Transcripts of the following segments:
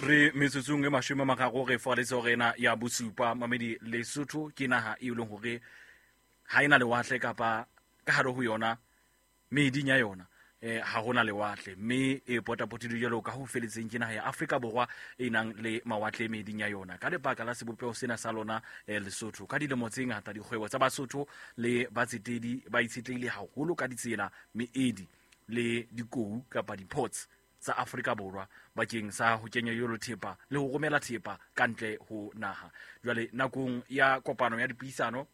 Re metsotsong e 30 re foaletse hore ena ya bosupa. Mamedi, Lesotho ke naha e leng hore ha ena lewatle kapa ka hare ho yona meeding ya yona ha hona lewatle, mme e potapotilwe jwalo ka ho feletseng ke naha ya Afrika Borwa e nang le mawatle meeding ya yona. Ka lebaka la sebopeho sena sa lona Lesotho, ka dilemo tse ngata dikgwebo tsa Basotho le batsetedi ba itshetlehile haholo ka ditsela, meedi le dikou kapa di-ports tsa Afrika Borwa bakeng sa ho kenya jwalo thepa le ho romela thepa ka ntle ho naha. Jwale nakong ya kopano ya dipuisano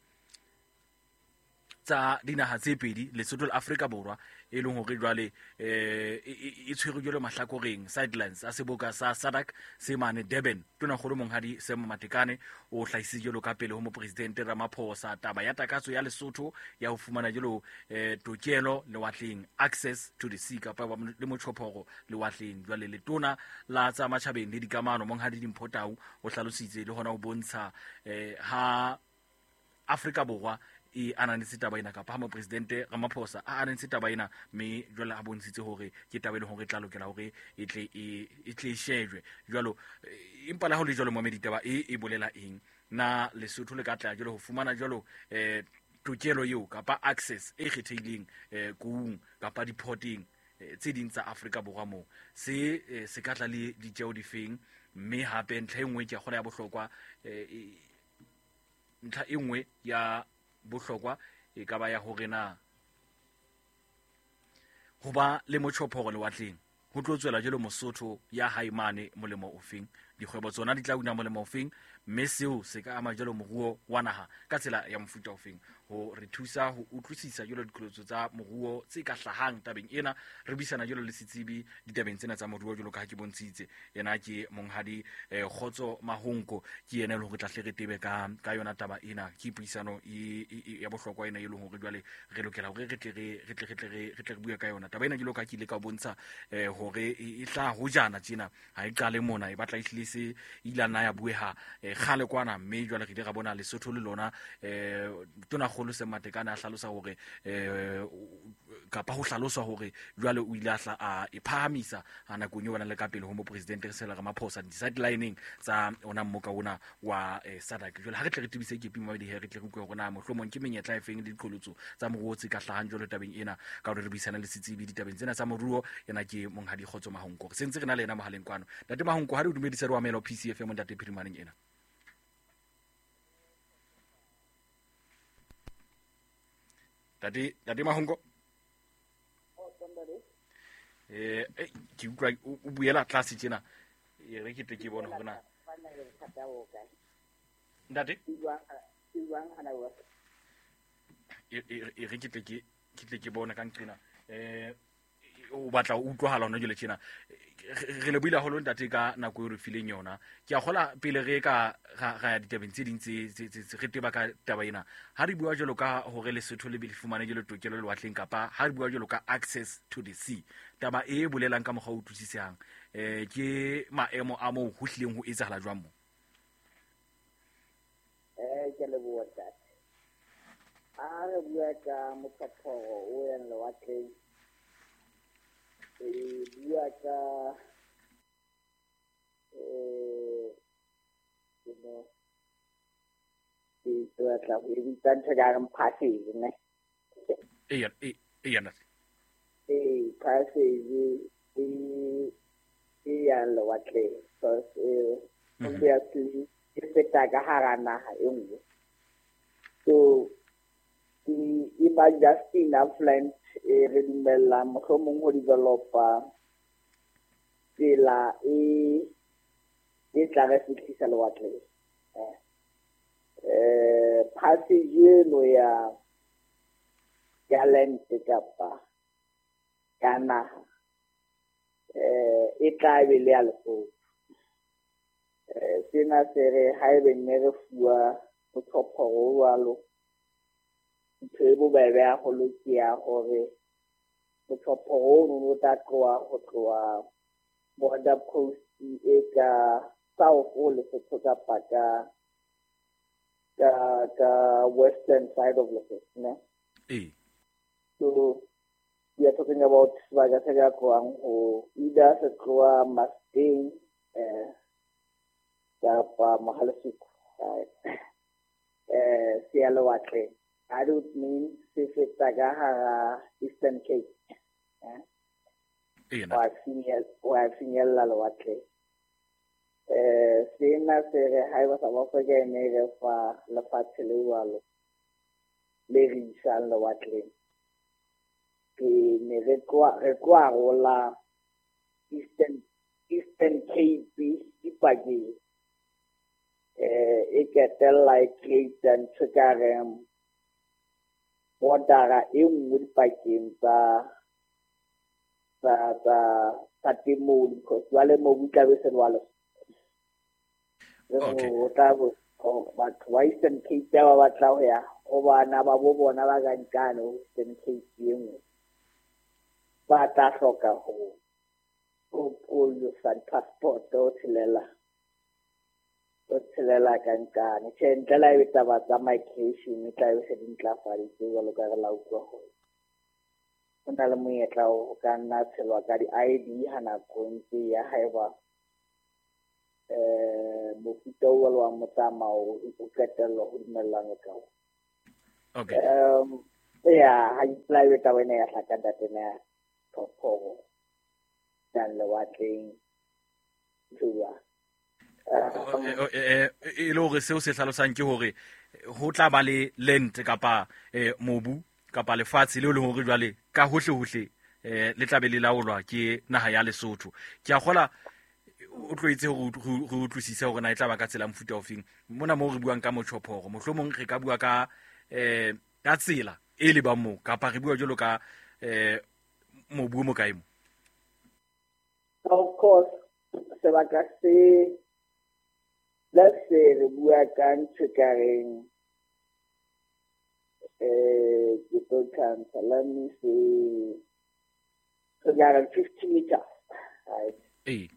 tsa dinaha tse pedi, Lesotho le Afrika Borwa, e leng hore jwale e tshwerwe jwalo mahlakoreng sidelines a seboka sa SADC se mane Durban, Tonakgolo Monghadi Sam Matekane o hlahisitse jwalo ka pele ho Mopresidente Ramaphosa taba ya takatso ya Lesotho ya ho fumana jwalo tokelo lewatleng, access to the sea, kapa le motjhophoro lewatleng. Jwale letona la tsa matjhabeng le dikamano Monghadi Dimpho Tau o hlalositse le hona ho bontsha ha Afrika Borwa e ananetse taba ena, kapa ha Mopresidente Ramaphosa a ananetse taba ena, mme jwale a bontshitse hore ke taba e leng hore e tla lokela hore e tle e shejwe jwalo. Empa le ha ho le jwalo, momedi, taba e e bolela eng? Na Lesotho le ka tla jwalo ho fumana jwalo tokelo eo kapa access e kgethehileng koung kapa diporteng tse ding tsa Afrika Borwa moo? Se se ka tla le ditjeo difeng? Mme hape ntlha e nngwe ke ya kgola ya bohlokwa, ntlha e nngwe ya bohlokwa e ka ba ya hore na ho ba le motjhophoro lewatleng ho tlo tswela jwalo Mosotho ya hae mane molemo ofeng, dikgwebo tsona di tla una molemo ofeng, mme seo se ka ama jwalo moruo wa naha ka tsela ya mofuta ofeng. Ho re thusa ho utlwisisa jwalo diqholotso tsa moruo tse ka hlahang tabeng ena, re buisana jwalo le setsebi ditabeng tsena tsa moruo jwalo ka ha ke bontshitse. Yena ke Monghadi Kgotso Mahonko, ke yena e leng hore tla hle re tebe ka yona taba ena. Ke puisano ya bohlokwa ena e leng hore jwale re lokela hore re tle re bue ka yona taba ena. Jwalo ka ke ile ka bontsha hore e tla hojana tjena, ha e qale mona, e batla e hlile se ile nna ya bueha kgale kwana, mme jwale re ile ra bona Lesotho le lona Tonakgolo Sam Matekane a hlalosa hore kapa ho hlaloswa hore jwale o ile a hla a e phahamisa ha nakong eo ba nang le ka pele ho Mopresidente Cyril Ramaphosa di-sidelining tsa ona mmoka ona wa SADC. Jwale ha re tle re tebise kepi mabedi, he re tle re utlwe hore na mohlomong ke menyetla e feng le diqholotso tsa moruo tse ka hlahang jwalo tabeng ena, ka hore re buisana le setsebi ditabeng tsena tsa moruo. Yena ke Monghadi Kgotso Mahonko, re sentse re na le yena mohaleng kwano. Ntate Mahonko, ha re o dumedise, re o amela ho PCFM ntate phirimaneng ena. Ntate Mahonko, ke utlwa o buela tlase tjena, e re ke tle ke bone hore na ntate e re ke tle ke bone ka nqena o batla o utlwahala hona jwale tjena. Re lebohile haholo ntate ka nako eo re fileng yona. Ke a kgola pele re ka ra ya ditabeng tse ding tse re teba ka taba ena, ha re bua jwalo ka hore Lesotho le be le fumane jwalo tokelo lewatleng, kapa ha re bua jwalo ka access to the sea, taba e bolelang ka mokgwa o utlwisisehang ke maemo a moo ho hlileng ho etsahala jwang moo? Ke leboha ntate. Ha re bua ka motjhophoro o yang lewatleng, re bua ka ke batla ho e bitsa ntho e ka reng passage, ne? Eya, eya ntate. Ee, passage e yang lewatleng, because obviously e feta ka hara naha e nngwe. So e ba just enough land e re dumellang mohlomong ho developa tsela e tla re fihlisa lewatleng. Passage eno ya land kapa ya naha e tla be le ya Lesotho. Sena se re haebe ne re fuwa motjhophoro o jwalo, ntho e bobebe haholo ke ya hore motjhophoro ono o tla tloha ho tloha border post e ka south ho Lesotho kapa ka western side of Lesotho, ne? Ee. So we are talking about sebaka se ka tlohang ho either se tloha Mustang Kapa Mohale'shoek, right? Se ya lewatleng. That would mean se feta ka hara Eastern Cape. Wa finyella lewatleng. Sena se re haeba South Africa e ne re fa lefatshe le jwalo le re isang lewatleng, ke ne re tlo arola Eastern Cape dipakeng. E ketella e create ntho ka reng bordera e nngwe dipakeng tsa temo, because jwale mobu tla be se le wa Lesotho. O tla bo batho ba Eastern Cape ba batla ho ya ho bana ba bo bona ba ka nkane ho Eastern Cape e nngwe, ba tla hloka ho pholosa passport o tshelela ka nkane. Tjhe, ntle le haebe taba tsa migration e tla be se di ntlafaditse jwalo ka re la utlwa hore ho na le monyetla o ka nna tshelwa ka di-ID ha nako ntse ya haeba mofuta o jwalo wa motsamao o qetellwa ho dumellana ka ona. Okay. Ya ha ipolawe taba ena ya hlaka ntate ya thophoro yang lewatleng jwa. E le hore seo se hlalosang ke hore ho tla ba le land kapa mobu kapa lefatshe leo le hore jwale ka hohle hohle le tla be le laolwa ke naha ya Lesotho. Ke a kgola o tloetse hore re utlwisise hore na e tla ba ka tsela mofuta ofeng. Mona moo re buang ka motjhophoro, mohlomong re ka bua ka ka tsela e lebang moo, kapa re bua jwalo ka mobu o mo kae mo. Of course, sebaka se, let's say re bua ka ntho e ka reng ke tlo tjhantsha, let me see, re ka reng 50 meters, right? 50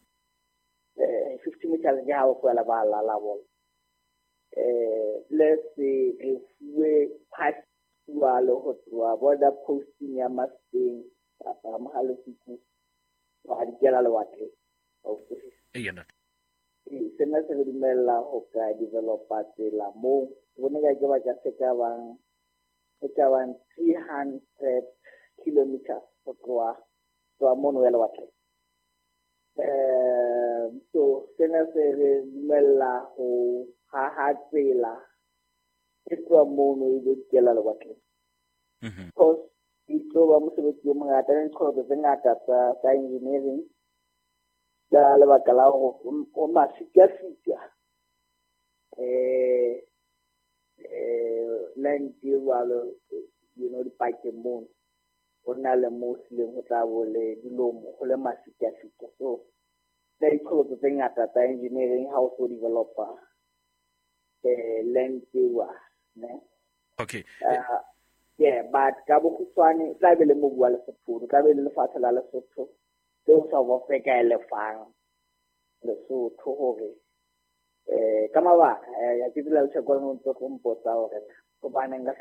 meters ke ha o tlohela ba lala bona. Let's say re fuwe pass jwalo ho tloha border posting ya Mafikeng kapa Mohale'shoek wa dikela lewatleng. Sena se re dumella ho ka developa tsela moo bone ka ke baka se ka bang 300 kilometers ho tloha mono ya lewatleng. So sena se re dumella ho haha tsela e tloha mono e lo dikela lewatleng. Because e tlo ba mosebetsi o mongata le diqholotso tse ngata tsa engineering ka lebaka la hore o mafikafika land e jwalo, you know, dipakeng mono ho na le moo hlileng ho tla bo le dilomo, ho le mafikafika. So le diqholotso tse ngata tsa engineering ha o so developa land e ne. Okay. Yeah, but ka bokgutshwane tla be le mobu wa Lesotho, tla be le lefatshe la Lesotho leo South Africa e lefang Lesotho hore ka mabaka ya ke tsela le o ntso tlo mpotsa hore hobaneng ka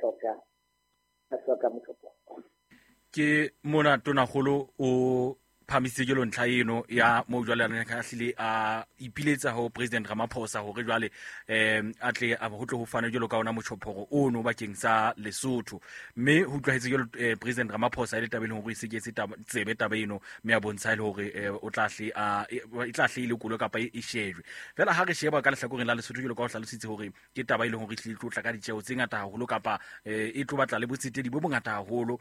hloka motjhophoro. Ke mona tonakgolo o phamisitse jwalo ntlha eno ya moo jwale a neng a hlile a ipiletsa ho President Ramaphosa hore jwale a tle a ho tle ho fane jwalo ka ona motjhophoro ono bakeng sa Lesotho. Mme ho utlwahetse jwalo President Ramaphosa e le taba e leng hore e seketse tsebe taba eno, mme a bontsha e le hore o tla hle a e tla hle e lekolwe kapa e shejwe. Fela ha re sheba ka lehlakoreng la Lesotho jwalo ka ho hlalositse hore ke taba e leng hore e hlile e tlo tla ka ditjeho tse ngata haholo kapa e tlo batla le botsetedi bo bongata haholo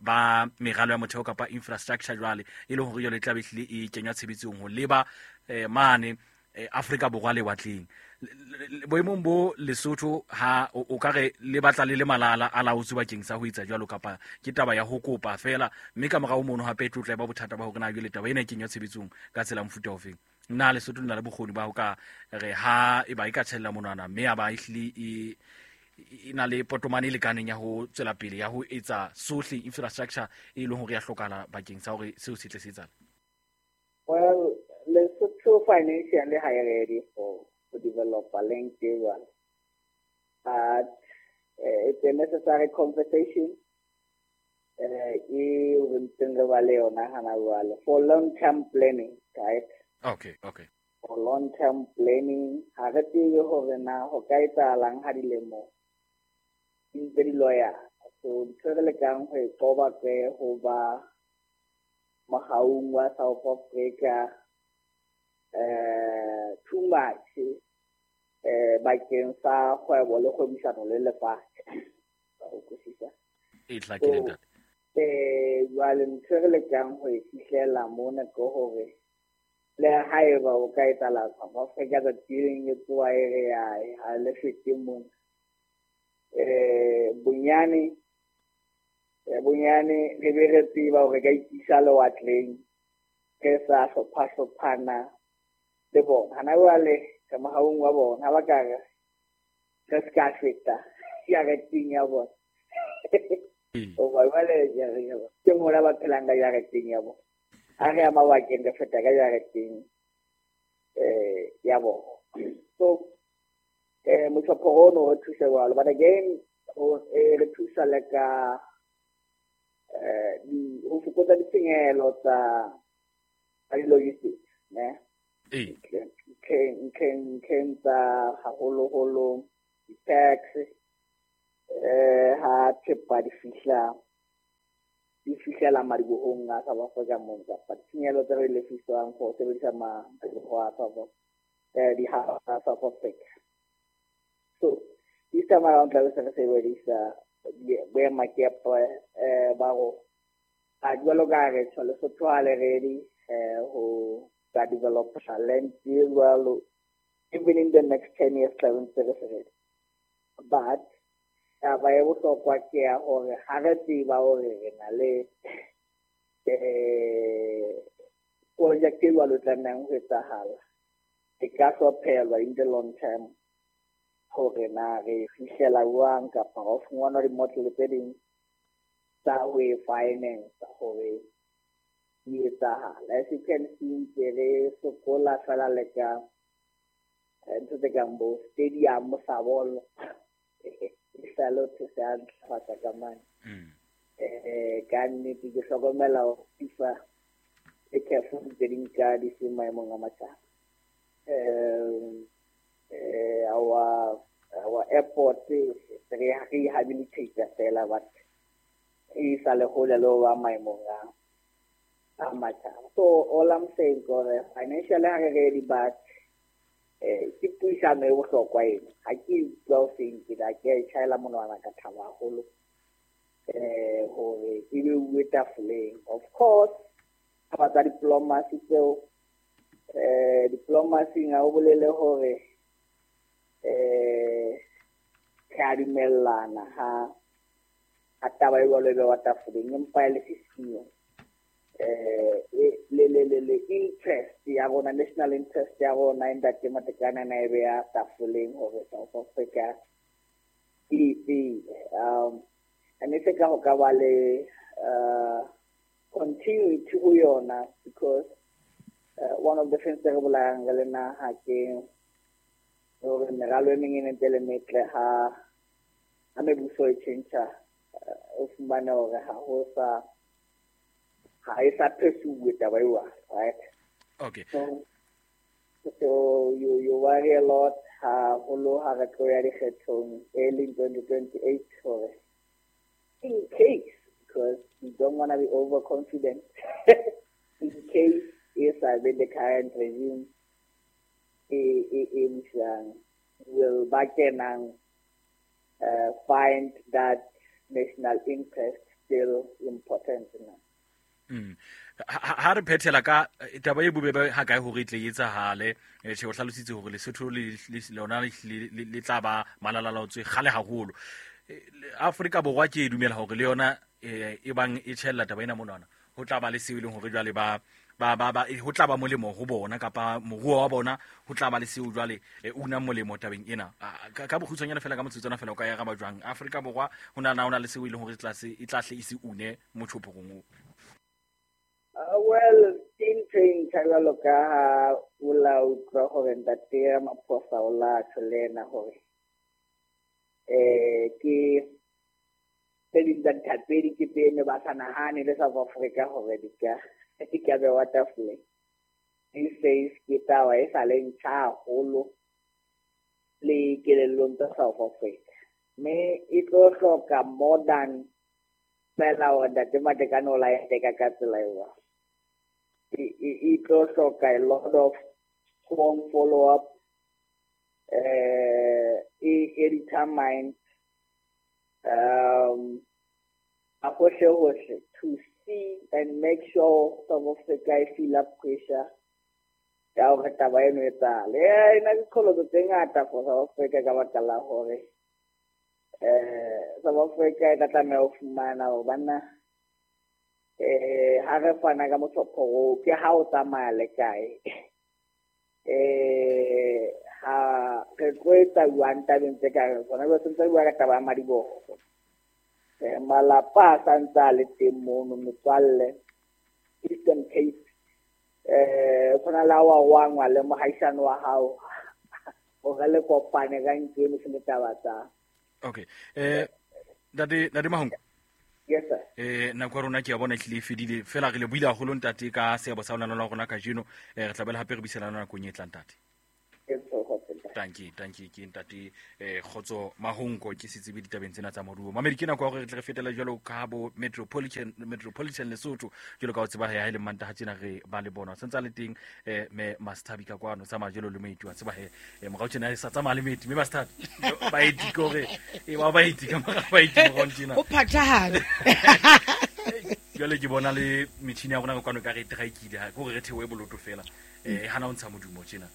ba meralo ya motheo kapa infrastructure jwale e le hore jwale e tla be hlile e kenywa tshebetsong ho leba mane Afrika Borwa lewatleng. Boemong bo Lesotho ha o ka re le batla le le malala a laotswe bakeng sa ho etsa jwalo, kapa ke taba ya ho kopa fela, mme ka morao mono hape e tlo tla ba bothata ba hore na jwale taba ena e kenywa tshebetsong ka tsela mofuta ofeng. Na Lesotho le na le bokgoni ba ho ka re ha e ba e ka tjhella monwana mme ya ba e hlile e na le potomane e lekaneng ya ho tswela pele ya ho etsa sohle infrastructure e leng hore ya hlokahala bakeng sa hore seo se tle se etsahale? Well, Lesotho financially ha e ready for to develop a link jwalo, but it's a necessary conversation e re ntseng re ba le yona hana jwale for long term planning, right? Okay. For long term planning Ha re tsebe hore na ho ka etsahalang ha dilemo di ntse di loya. So ntho e re lekang ho e qoba ke ho ba mohaung wa South Africa too much bakeng sa kgwebo le kgwebisano le lefatshe. Wa utlwisisa? E hlakile, ntate. Jwale ntho e re lekang ho e fihlela mona ke hore le haeba o ka etsahala South Africa tsatsi le leng e tsoha e re ha le fete mona. Bonyane re be re tseba hore ka ikisa lewatleng re sa hlopha-hlophana le bona. Hana jwale re mohaung wa bona, ha ba ka re re ska feta jareteng ya bona. Hoba jwale ke mona ba phelang ka jareteng ya bona. Ha re ya mabakeng re feta ka jareteng ya bona. So motjhophoro ono re thusa jwalo, but again re thusa le ka ho fokotsa ditshenyehelo tsa di-logistics, ne? Ntlheng tsa haholoholo di-tax, ha thepa di fihlela madibohong a South Africa mona, kapa ditshenyehelo tse re lefiswang for ho sebedisa madiboho a South di-hub tsa South Africa. So this time around tla be se re sebedisa boemakepe ba rona. A jwalo ka re tjho Lesotho ha le ready ho ka develop land e jwalo, even in the next 10 years tla be ntse re se ready. But taba e bohlokwa ke ya hore ha re tseba hore re na le project e jwalo tlamehang ho etsahala, e ka hlophelwa in the long term hore na re fihlela jwang kapa ho fumanwa di-model tse ding tsa ho e finance hore di etsahala. As you can see, ntse re sokola fela le ka ntho tse kang bo stadium sa bolo e sa le ho se a ntlafatsa ka mane. Ka nnete ke hlokomela hore FIFA e CAF ntse di nka di se maemong a matjhaba. Our airport re rehabilitate fela, but e sa le hole le ho ba maemong a matjhaba. So all I'm saying kore financially ha re ready, but ke puisano e bohlokwa ena. Ha ke utlwa o seng ke la ke a e tjhaela monwana ka thaba haholo hore e beuwe tafoleng. Of course taba tsa diplomacy tseo, diplomacy ha o bolele hore re a dumellana ha taba e jwalo e bewa tafoleng, empa e le sisiyo le interest ya rona, national interest ya rona e ntate Matekane na e beya tafoleng hore South Africa e tsebe. And e se ka ho ka ba le continuity ho yona, because one of the things tse re bolayang re le naha ke hore meralo e meng e ntse le metle ha mebuso e tjhentjha, o fumane hore ha ho sa ha e sa phesuwe taba eo, right? Okay. So you worry a lot haholo ha re tlo ya dikgethong early in 2028 hore in case, because you don't want to be overconfident, in case e sa be the current regime e busang, will ba kenang find that national interest still important now. Ha re phethela ka taba e bobebe ha kae hore e tle e etsahale, tjhe o hlalositse hore Lesotho le lona le tla ba malalalaotswe kgale haholo. Afrika Borwa ke e dumela hore le yona e bang e tjhella taba ena monwana, ho tla ba le seo e leng hore jwale ba ho tla ba molemo ho bona kapa moruo wa bona ho tla ba le seo jwale unang molemo tabeng ena. Ka bokgutshwanyane fela, ka motsotswana fela, o ka e araba jwang? Afrika Borwa ho na le seo e leng hore e tla hle e se une motjhophorong oo? Well, ke ntho e ntjha jwalo ka ha o la utlwa hore ntate Ramaphosa o la tjho le yena hore ke tse ding tsa dithapedi ke tse ne ba sa nahane le South Africa hore di ka bewa tafoleng. He says ke taba e sa le ntjha haholo Le kelellong tsa South Africa. Mme e tlo hloka more than fela hore Ntate Matekane o la e teka ka tsela eo. E tlo hloka a lot of strong follow-up, e determined hohle to see and make sure South Africa e feel up pressure ya hore taba eno e etsahale. E na ke qholotso tse ngata for South Africa ka baka la hore South Africa e tla tlameha ho fumana hore banna ha re fana ka motlhopho oo ke ha o tsamaya le kae. Ha re tlo etsa jwang tabeng tse ka reng tsona, jwale sentse re bua ka taba ya madiboho. Malapa a santse a le teng mono, metswalle Eastern Cape, tshwana le ha wa wangwa le mohaisane wa hao hore le kopane ka ntlo eno se le taba tsa. Okay. Ntate Mahonko. Yes sir. Nako ya rona ke a bona e hlile e fedile. Fela re le buile haholo ntate ka seabo sa lona la rona kajeno. Re tla bela hape re buisana le nakong e tlang ntate. Tanki ke ntate Kgotso Mahonko ke setsebi ditabeng tsena tsa moruo. Mamedi ke nako ya hore re tle re fetele jwalo ka bo Metropolitan Lesotho jwalo ka ho tseba ha e le Mantaha tjena re ba le bona. Sentse le teng me Master ka kwano tsamaya jwalo le moeti wa tseba he morao tjena e sa tsamaya le moeti me Master baeti ke hore e ba baeti ka mora baeti morao tjena. Ho phathahane. Jwale ke bona le metjhini ya rona ka kwano ka re traikile ha ke hore re theohe boloto fela. Hana o ntsha modumo tjena.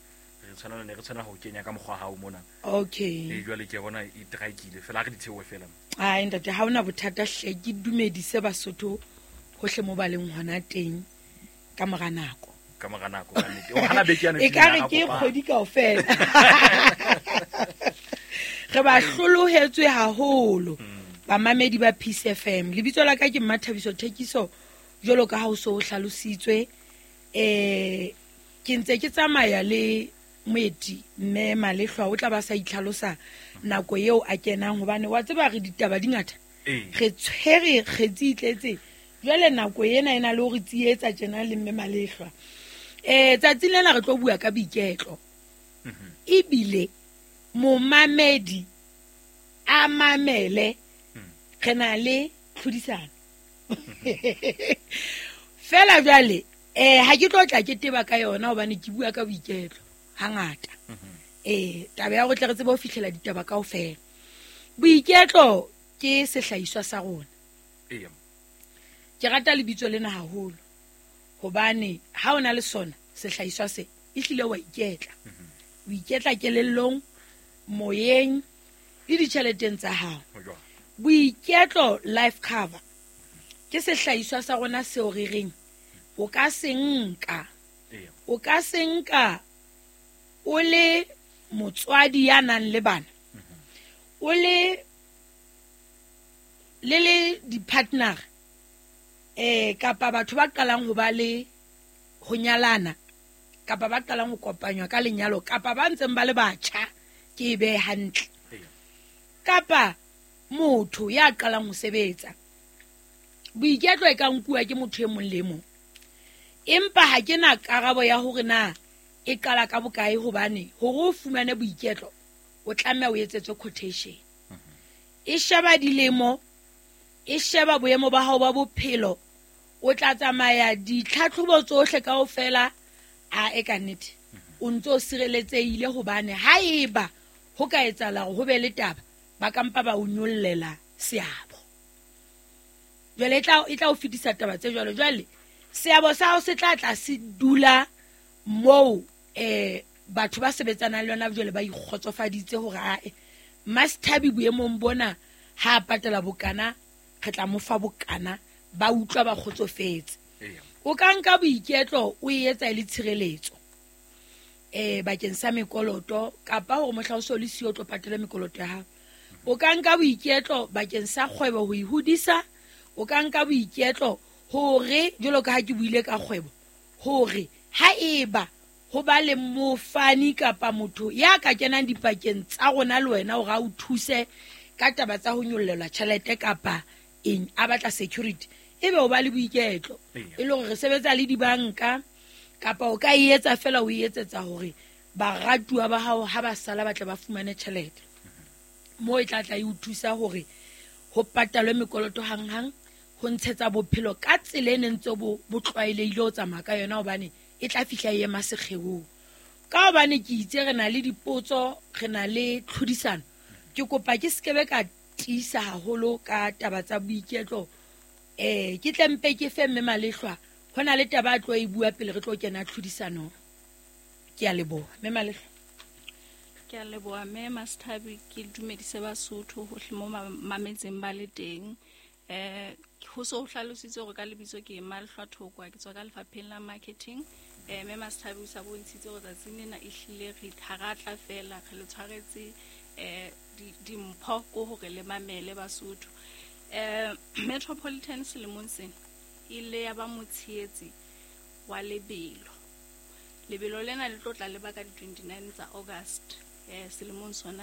Re tshwanela ho kenya ka mokgwa hao mona. Okay. Jwale ke bona e traikile fela re di theohe fela. Ai ntate ha ona bothata hle ke dumedise Basotho hohle mo ba leng hona teng ka mora nako. Ka mora nako ka nnete. O hana beke yana e ka re ke kgwedi kaofela. Re ba hlolohetswe haholo. Bamamedi ba Peace FM. Lebitso la ka ke Mmathabiso Thekiso jwalo ka ha o so hlalositswe. Ke ntse ke tsamaya le moeti mme Malehlwa o tla ba sa itlhalosa nako eo a kenang hobane wa tseba re ditaba di ngata. Re tshwere kgetsi itletse. Jwale nako ena ena le hore tsietsa tjena le mme Malehlwa. Tsatsing lena re tlo bua ka boiketlo. Ebile momamedi a mamele re na le tlhodisano. Fela jwale ha ke tlo tla ke teba ka yona hobane ke bua ka boiketlo hangata. Taba ya hore tle re tsebe ho fihlela ditaba kaofela. Boiketlo ke sehlahiswa sa rona. Ke rata lebitso lena haholo hobane ha o na le sona sehlahiswa se ehlile wa iketla. O iketla kelellong, moyeng le ditjheleteng tsa hao. Boiketlo life cover ke sehlahiswa sa rona seo re reng o ka se nka. O ka se nka o le motswadi ya nang le bana, o le le di-partner kapa batho ba qalang ho ba le ho nyalana kapa ba qalang ho kopanywa ka lenyalo kapa ba ntseng ba le batjha ke be hantle, kapa motho ya qalang ho sebetsa. Boiketlo e ka nkuwa ke motho e mong le mong, empa ha ke na karabo ya hore na e qala ka bokae hobane hore o fumane boiketlo o tlameha o etsetswe quotation. E sheba dilemo, e sheba boemo ba hao ba bophelo, o tla tsamaya ditlhatlhobo tsohle kaofela a e ka nnete o ntso sireletsehile hobane haeba ho ka etsahala hore ho be le taba ba kampa ba o nyollela seabo. Jwale e tla o fetisa taba tse jwalo. Jwale seabo sa hao se tla tla se dula moo batho ba sebetsanang le yona jwale ba ikgotsofaditse hore ae Master boemong bona ha a patala bokana re tla mo fa bokana, ba utlwa ba kgotsofetse. O ka nka boiketlo o e etsa e le tshireletso bakeng sa mekoloto kapa hore mohla o so le siyo o tlo patela mekoloto ya hao. O ka nka boiketlo bakeng sa kgwebo ho e hodisa. O ka nka boiketlo hore jwalo ka ha ke buile ka kgwebo hore ha eba ho ba le mofani kapa motho ya ka kenang dipakeng tsa rona le wena hore a o thuse ka taba tsa ho nyollelwa tjhelete kapa eng a batla security, ebe o ba le boiketlo e le hore re sebetsa le dibanka kapa o ka e etsa fela o e etsetsa hore Baratuwa ba hao ha ba sala ba tle ba fumane tjhelete. Moo e tla tla e o thusa hore ho patalwe mekoloto hanghang, ho ntshetsa bophelo ka tsela e neng ntse bo tlwaelehile ho tsamaya ka yona, hobane e tla fihla e ema sekgeong. Ka hobane ke itse re na le dipotso, re na le tlhodisano, ke kopa ke sekebe ka tiisa haholo ka taba tsa boiketlo. Ke tle mpe ke fe mme Malehlwa, ho na le taba a tlo e bua pele re tlo kena tlhodisanong. Ke a leboha mme Malehlwa. Ke a leboha mme Masthabi, ke dumedise Basotho hohle mo mametseng ba le teng. Ho so ho hlalositswe hore ka lebitso ke Malehlwa Thokwa, ke tswa ka lefapheng la marketing. Mme Masthabi o sa bontshitse hore tsatsing lena ehlile re ha ra tla fela, re le tshwaretse dimpho ko hore le mamele Basotho. Metropolitan selemong sena ile ya ba motshehetsi wa lebelo. Lebelo lena le tlo tla leba ka di-29 tsa August selemong sona.